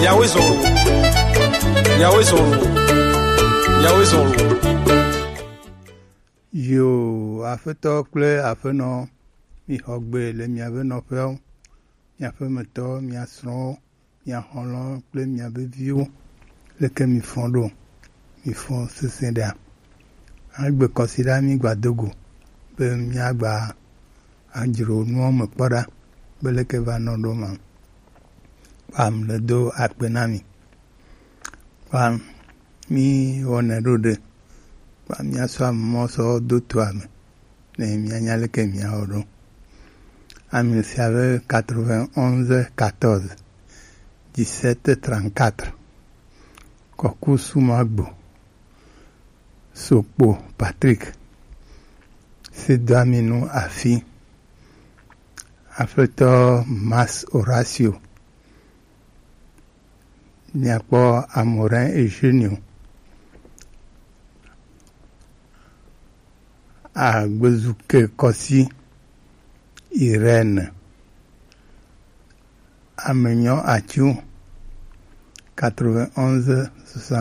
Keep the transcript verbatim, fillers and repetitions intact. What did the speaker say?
Yahweh zɔn lo. Yahweh zɔn lo. Yahweh zɔn lo. Yo, Aƒetɔ kple Aƒenɔ, mixɔ gbe le miaƒe nɔƒewo, miaƒe metɔwo, mia srɔ̃wo, mia xɔlɔ̃wo kple miaƒe viwo. Leke mifɔ ɖo? Mifɔ sesẽ ɖea? Agbe kɔsiɖa mi gba do go be miagba adzro nuwo me kpɔ ɖa be leke va nɔ ɖo ma. Kpam le do akpe na mi. Kpam mi wɔnɛ ɖo ɖe. Kpam mia sɔ amɔ sɔ do to ame. Ne mianya leke miawɔ ɖo. Ami sia be quatre-vingt-onze quatorze dix-sept trente-quatre. Kɔku Sumagbo. Sokpo Patrick, Sedoaminu Afi, Aƒetɔ Mas Horacio, miakpɔ Amorin Eugenio, Agbezuke Kɔsi Irène, Amenyɔ Atsu, quatre-vingt-onze soixante.